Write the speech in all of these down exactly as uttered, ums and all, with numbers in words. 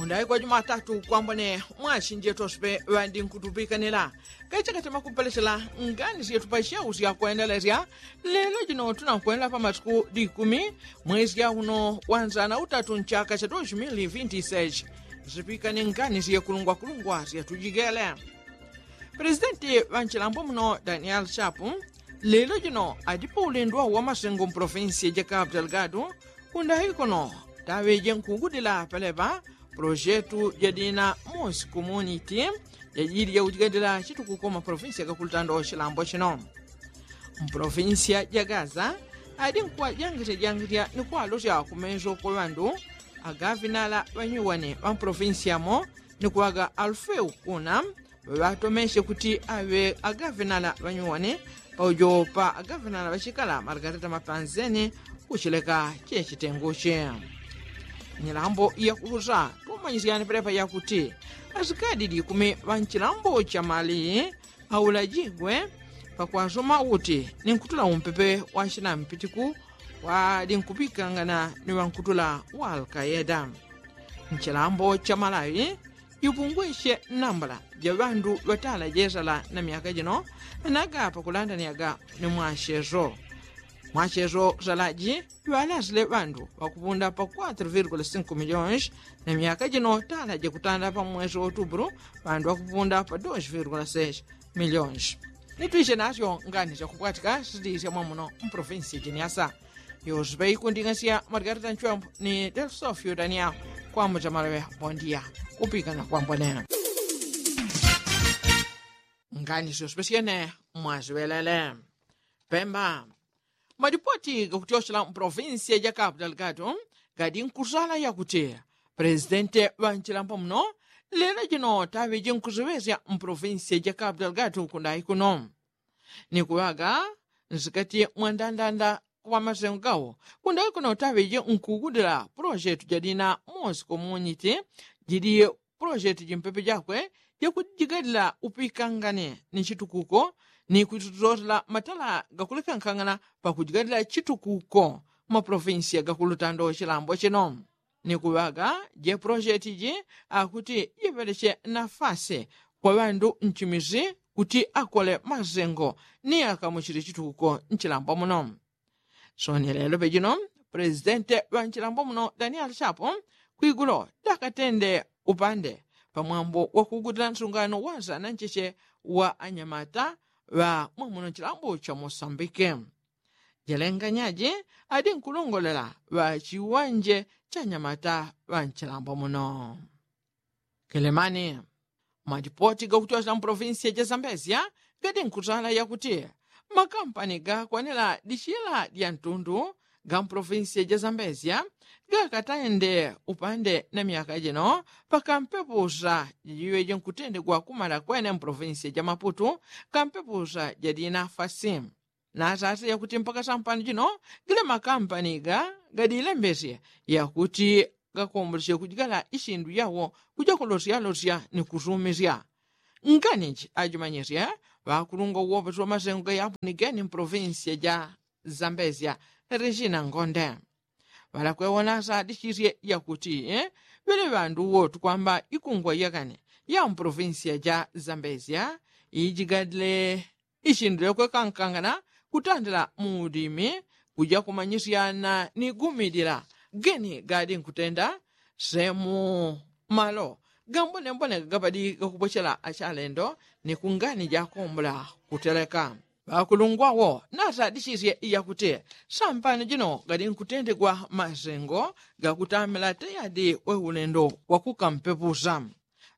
Ndaikwa jumatatu kwambone mwasinje tospe ŵandi nkutupikanila kachakatema kupelechela ngani syetu pa syau syakwendelesya. Lelo jino tunakwenda pa masiku likumi mwezi ya uno wanzana utatu nchaka cha dos mil vinti seis. Zipikane ngani syekulungwakulungwa syatujigele. Presidenti ŵa nchilambo muno daniel chapu lelo jino adipo ulendo wa masengo mpolofinsi ja kapu delgado. Kundahi kuno taŵeje nkugudila pelepa polojetu jadina mosi komuniti jajili jakujigadila chitukuko mapolofinsi gakulutando chilambo chino. Mpolofinsi ja gaza adi nkuwajangisyajangisya ni kuwalosya kumeso kwa ŵandu agavinala ŵanyuwani ŵa mpolofinsi yamo ni kuŵaga alufeu kuna ŵaŵatomesye kuti aŵe agavenala ŵanyuwani paujo pa agavenala ŵachikala margarita mapanzeni. Kuchileka chechitenguchi nyilambo yakulusa tumanyisyani pelepa yakuti asikadi likumi ŵa nchilambo cha mali aulajigwe pakwasoma uti ni nkutula umpepe wa chinampitiku wali nkupikangana ni ŵankutula wa alkaeda. Nchilambo cha malawi jupungwisye nambala ja ŵandu ŵatala jesala na myaka jino. Naga pakulandaniaga ni mwacheso mwacheso salaji ŵalasile ŵandu ŵakupunda pa kwatro virgula sinko miliyoni na myaka jino tala jakutanda pa mwesi wa otuburu ŵandu ŵakupunda pa dos virgula seis miliyoni. Nitwisye nasyo ngani syakupwatika sitiisya mwamuno mpolofinsi jiniasa. Yospe ikunding'asya margarita nchwembo ni delsofio daniel. Kwambo chamalaŵe bondia kupikana kwambone. Ngani syospe syene mwaziŵelele. Pemba. Malipoti gakutyochela mpolofinsi ja kapu delgado gadi nkusala yakuti presidenti ŵa nchilambo muno lelo jino taŵeje nkuziŵesya mpolofinsi ja kapu delgado kundahi kuno ni kuŵaga nsikati mwa ndandanda wa masengo gawo. Kundayi kuno taŵeje nkugudila pulojetu jadina mosi komuniti jili pulojetu jimpepe jakwe jakujigadila upikangane ni chitukuko ni kututotela matala gakulekankangana pakujigadila chitukuko. Mapulofinsiya gakulutando chilambo chino ni kuŵaga je pulojetu ji akuti jiŵeleche nafasi kwa ŵandu nchimisi kuti akole masengo ni akamuchile chitukuko nchilambo muno. Soni lelo pejino pulesidente ŵa nchilambo muno daniel chapo kwigulo dakatende upande pamwambo wakugutila nsungano wa sana ncheche wa anyamata ŵa mwamuno nchilambo cha mosambike. Jelenganyaji adi nkulongolela ŵa chiwanje cha anyamata ŵa nchilambo muno. Kelemani. Malipoti gakuchosela mu polovinsiya ja zambezia gadi nkutala yakuti makampani gakwanila dichila dya ntundu ga mu polovinsiya ja zambezia gakatende upande na myaka jino pakampepusa jajiŵeje nkutendegwa kumala kwene mu polovinsiya ja maputu kampepusa jadina fasi. Nasasa yakuti mpaka sampano jino gila makampani ga gadilembesya yakuti gakomboleche kujigala ichindu yawo kuja kulosyalosya ni kusumisya. Nganichi ajimanyisye ŵakulungwa uwoposi wa masengo gayapo ni geni mu polovinsiya ja zambezia rechina ngonde ŵalakwewo nasadichisye yakuti ŵele ŵandu wotu kwamba ikungwa yakane ya mu polovinsiya ja zambezia ijigadile ichindile kwekankangana kutandila mu ulimi kuja kumanyisyana ni gumidila geni gadi nkutenda semu malo gambonembone gagapadi gakupochela achalendo ni kungani jakombola kuteleka. Ŵakulungwawo nasadichisye iyakuti sampano jino gadi nkutendegwa masengo gakutamila teyadi we ulendo wakukampepusa.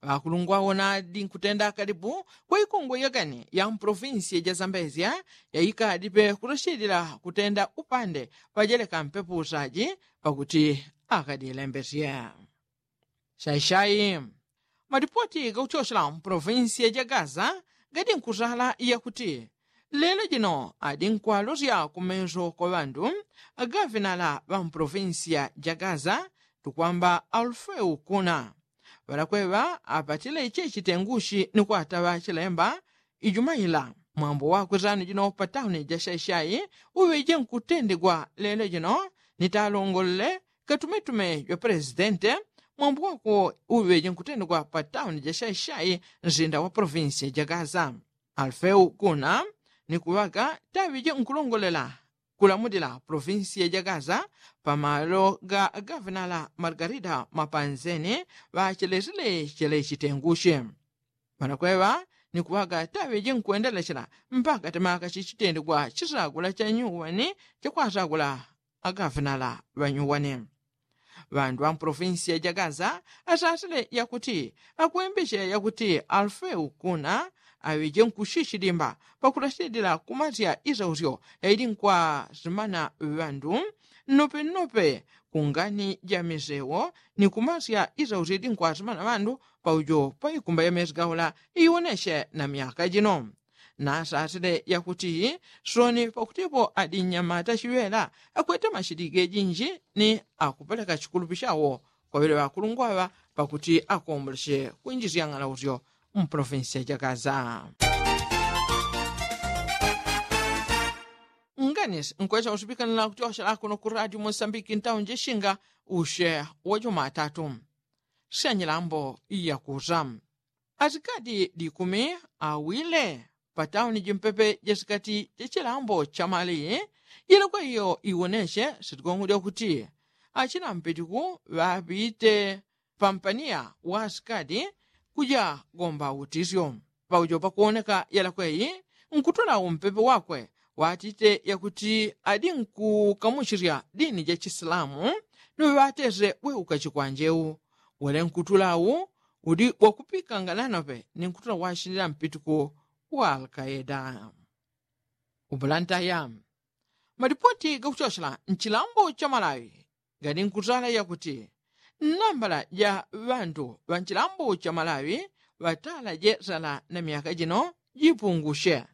Ŵakulungwa wona adi nkutenda kalipu kwa ikungwe yakani ya mu polovinsiya ja zambezia yaikadi pe kulosyedila kutenda upande pajeleka mpepusaji pakuti akadilembesye. Shaishai. Malipoti gakuchochela mu polovinsiya ja gaza gadi nkutala yakuti lelo jino adi nkwalosya kumeso kwa ŵandu agavinala ŵa mu polovinsiya ja gaza tukwamba alufeu kuna ŵalakweŵa apatile ichi chitenguchi ni kwataŵa chilemba ijumaila mwambo wakwe sano jino pa tauni ja shaishai uŵeje nkutendegwa lelo jino ni talongolele katumetume jwa pulesidente mwambo wako uŵeje nkutendegwa pa tauni ja shaishai nzinda wa polovinsiya ja gaza. Alufeu kuna ni kuŵaga taŵeje nkulongolela kulamulila polovinsiya ja gaza pamalo ga gavenala margarida mapanzeni ŵachelesile chele chitenguche. Ŵanakweŵa ni kuŵaga taŵeje nkwendelechela mpaka temaka chichitendegwa chisagula cha nyuwani cha kwasagula agavenala ŵanyuwani. Ŵandu ŵa mpolovinsiya ja gaza asasile yakuti akwembeche yakuti alufeu kuna aŵeje nkushichidimba pakulashidila kumasya isausyo yaili nkwasimana ŵandu nnope nnope kungani ja misewo ni kumasya isausyo yaili nkwasimana ŵandu paujo paikumba ya mesi gaula iwoneche na myaka jino. Nasasile yakuti soni pakutipo adi nnyamata chiŵela akwete machidi gejinji ni akupeleka chikulupi chawo kwa ŵele ŵakulungwaŵa pakuti akomboleche kwinjisya ng'alausyo mpolovinsiya ja gaza. Nganisi nkwecha usupikanila kutyochela kuno ku radio mosambiki ntauni jishinga ushe wa jumatatu syanyilambo yakusa asikadi likumi awile patauni jimpepe jasikati jachilambo chamali. Yelekwa iyo iwoneche sitigongo lyakuti achina mpitiku ŵapite pampaniya wa asikadi kuja gomba utisyo paujo pakuwoneka yelekwa iyi nkutula umpepe wakwe watite yakuti adi nkukamuchirya dini ja chisilamu. Niŵatese weuka chikwanje u wele nkutula u udi wakupikanga nanope ni nkutula washindila mpituku wa alkaeda. Ubulantaya malipoti gakuchochela nchilambo cha malawi gadi nkutala yakuti nambala ja ŵandu ŵa nchilambo cha malawi ŵatala jesala na myaka jino jipungushe.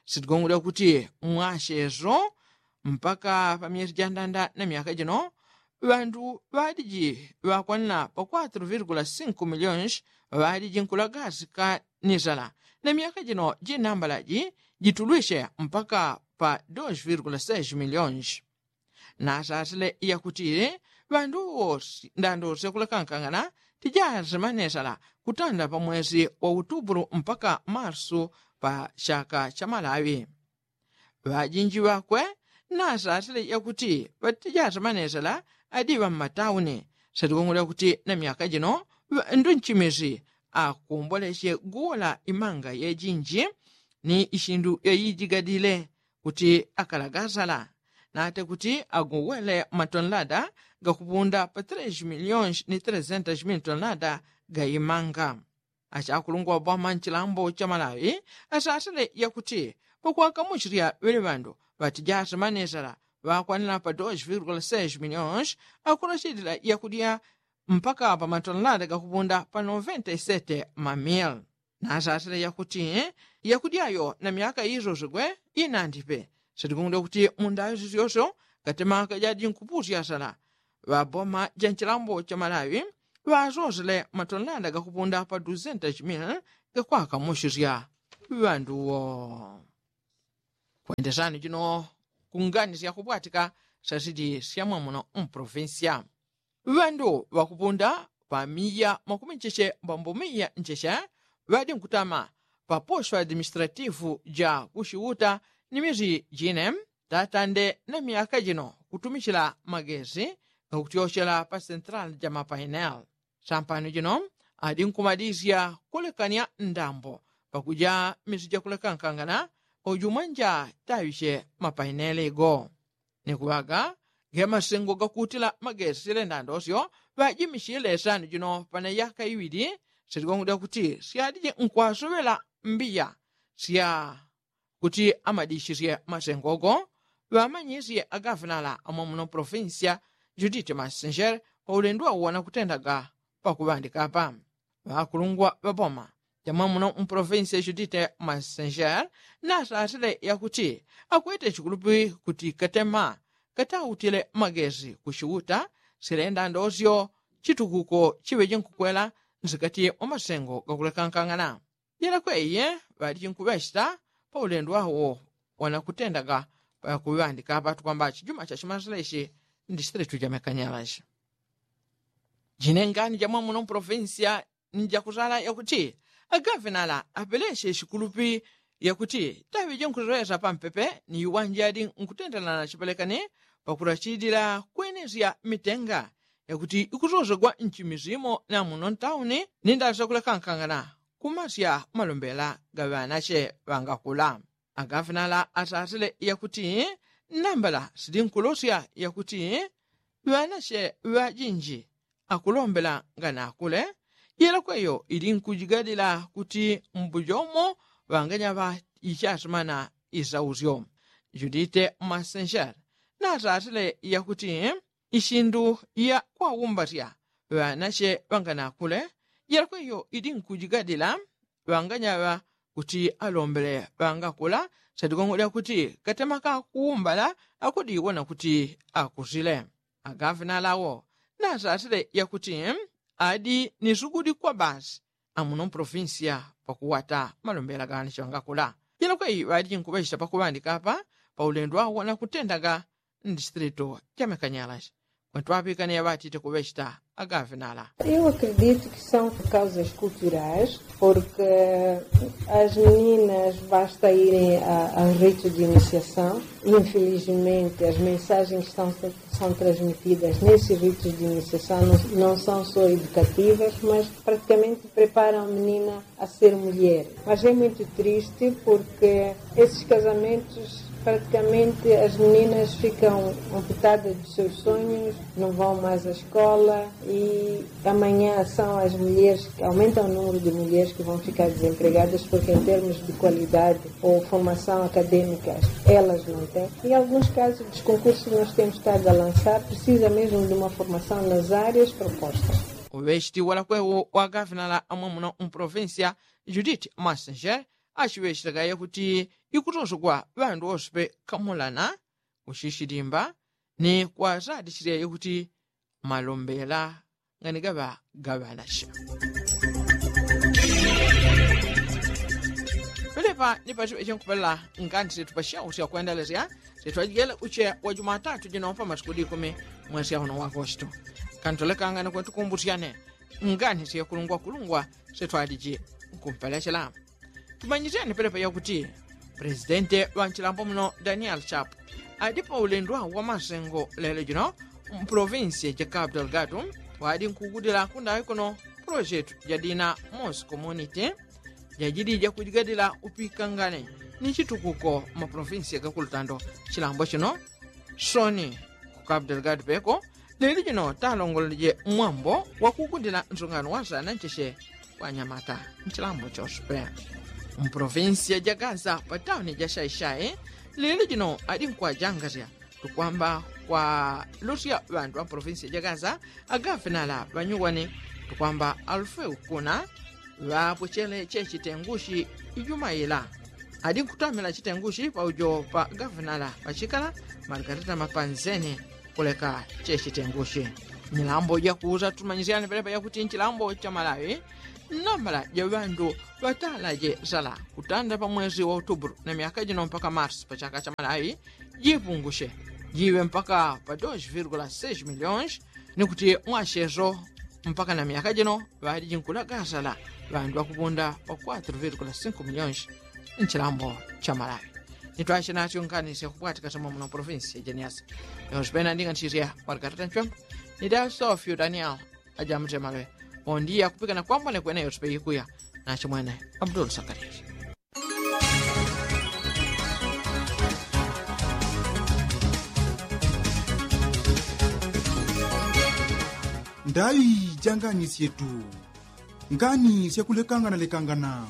Sitigongole kuti mwacheso mpaka pa myesi jandanda na myaka jino ŵandu ŵadiji ŵakwanila pa kwatro virgula sinko milionshi ŵadiji nkulagasika ni sala na myaka jino jinambala ji jitulwishe mpaka pa dos virgula seis milionshi. Nasasile yakuti ŵandu wosi ndandose kulekankangana tijasima nesala kutanda pa mwesi wa utubulu mpaka marsu pa chaka cha malawi. Ŵajinji ŵakwe nasasile yakuti ŵatijasima nesala adiŵa mmatauni. Satikungula kuti na myaka jino ŵandu nchimisi akumboleche guwola imanga yejinji ni ishindu yayijigadile kuti akalagasala nate kuti aguwele matonlada gakupunda pa tres milionshi ni tres sentos mil tonlada ga imanga. Achakulungwa bwama nchilambo cha malawi asasile yakuti pakwakamuchilya ŵele ŵandu ŵatijasima nesala ŵakwanila pa dos virgula seis milionshi akulachilila yakudya mpaka pa matonlada gakupunda pa noventa isete mamil. Nasasile yakuti yakudyayo na myaka isosigwe inandipe. Satikungula kuti mundayo sisyosyo katemaka jadinkupusya sala ŵaboma ja nchilambo cha malawi ŵasosile matonlada gakupunda pa dusentos mil gakwakamuchisya ŵanduwo. Kwendesani jino kunganisya kupwatika sasidi syamwamuno mpolovinsya ŵandu ŵakupunda pa miya makumi ncheche mbambo miya ncheche ŵadi nkutama pa posho administrativu ja kuchiuta ni misi jine tatande na myaka jino kutumichila magesi gakutyochela pa sentrali ja mapaineli. Sampano jino adi nkumadisya kulekanya ndambo pakuja misi jakulekankangana uju mwanja taŵiche mapaineli go ni kuŵaga ge masengo gakuutila magesi silenda ndosyo ŵajimichile sani jino pana yaka iŵili. Siligongwe lyakuti syadije nkwasoŵela mbiya sya kuti amadishisye masengo go ŵamanyisye agafinala amwamuno polofinsiya judite masenjere paulendo wawo wanakutendaga pakuŵandika apa ŵakulungwa ŵaboma jamwamuno mpolofinsiya judite masenjere nasasile yakuti akwete chikulupi kuti katema katautile magesi kuchiuta silenda ndosyo chitukuko chiŵeje nkukwela nsikati mwa masengo gakulekankangana. Jela kweye ŵaliji nkuŵechita paulendo wawo wanakutendaga pakuŵandika apa tukwamba chijuma chachimasile ichi ndi siteletu jamekanyala ichi. Jinengani jamwamuno mpolofinsiya ni jakusala yakuti agavenala apeleshe shikulupi yakuti taŵe jinkusoŵesa pampepe ni iwanjadi nkutendelana chipelekani pakulachidila kwenesya mitenga yakuti ikusosegwa nchimi simo na muno ntauni ni ndali sakulekankangana kumasya malombela ga ŵanache ŵangakula. Agavenala asasile yakuti nambala sili nkulosya yakuti ŵanache ŵajinji akulombela nganakule yelakweyo ili nkujigadila kuti mbujomo ŵanganyaŵa ichasimana isausyo. Judite masenshel nasasile yakuti ishindu ya kwaumbatya ŵanache ŵanganakule yelakweyo ili nkujigadila ŵanganyaŵa kuti alombele ŵangakula sadigongo lyakuti katema kakuumbala akudiwona kuti akusile. Agavenala wo nasasile yakuti adi ni sugudi kwa basi amuno mpolofinsiya pakuwata malombela gani chiŵangakula. Jilokwe ŵadi jinkuŵechita pakuŵandika apa paulendo wawo nakutendaga ndistrito jamekanyalashi. Kwentwaŵikane yaŵatite kuŵechita agavenala. Eu acredito que são causas culturais, porque as meninas basta irem a, a um rito de iniciação. Infelizmente as mensagens que são transmitidas nesses ritos de iniciação não são só educativas, mas praticamente preparam a menina a ser mulher. Mas é muito triste porque esses casamentos praticamente as meninas ficam amputadas dos seus sonhos, não vão mais à escola e amanhã são as mulheres que aumentam o número de mulheres que vão ficar desempregadas porque em termos de qualidade ou formação acadêmica elas não têm. Em alguns casos dos concursos que nós temos estado a lançar precisa mesmo de uma formação nas áreas propostas. Uŵechiti walakwewo wa gavenala amwamuno mpolofinsiya judith masenshel achiŵechitaga yakuti ikutosogwa ŵandu wose pe kamulana kuchichilimba ni kwasadichilya yakuti malombela ngani gaŵa gaŵanache. Pelepa ni pachiŵeche nkupelela ngani situpasha usya kwendelesya sitwajigele uche wa jumatatu jino pa masiku dikumi mwesi auno wa agosto. Kantolekangane kwentukumbusyane ngani siyakulungwakulungwa sitwaliji nkumpelechela. Tumanyisyane pelepa yakuti presidente ŵa nchilambo muno daniel chapu adi paulendo wa masengo lelo jino mpolofinsiya ja capital gatu wadi nkugudila kundaŵe kuno polojetu jadina mos community jajili jakujigadila upikangane ni chitukuko mapolofinsiya gakulutando. Chilambo chino soni ku capital gatu peko lelo jino talongololeje mwambo wakugudila nsungano wasana ncheche kwa nyamata nchilambo chose pe. Mpolofinsiya ja gaza pa tauni ja shaishai lelo jino adi nkwajangasya tukwamba kwa lusya ŵandu ŵa mpolofinsiya ja gaza agafinala ŵanyuwani tukwamba alufeu kuna ŵapwechele chechitengushi ijumaila adi nkutamila chitengushi paujo pa gafinala ŵachikala margarita mapanzeni kuleka chechitengushi. Nyilambo jakuuza tumanyisyane pelepa yakuti nchilambo cha malawi nambala ja ŵandu ŵatalaje sala kutanda pa mwezi wa utuburu na myaka jino mpaka marsi pa chaka cha malawi jipungushe jiŵe mpaka pa dos virgula seis miliyons ni kuti mwachezo mpaka na myaka jino ŵaliji nkulagasala ŵandu ŵakupunda pa quatro virgula cinco miliyons. Nchilambo cha malawi nitwache natyo ngani syakupwatika sya mwamuno provinsi ya jeniasi. Yonse pena nding'anisisya mwalikatata nchwemba ni dasofyo daniel ajamutemalwe. Ondiya kupikana kwambone kwene yonse peyikuya nachimwene abdul sakariya. Ndaŵi ja ngani syetu ngani syakulekangana lekangana.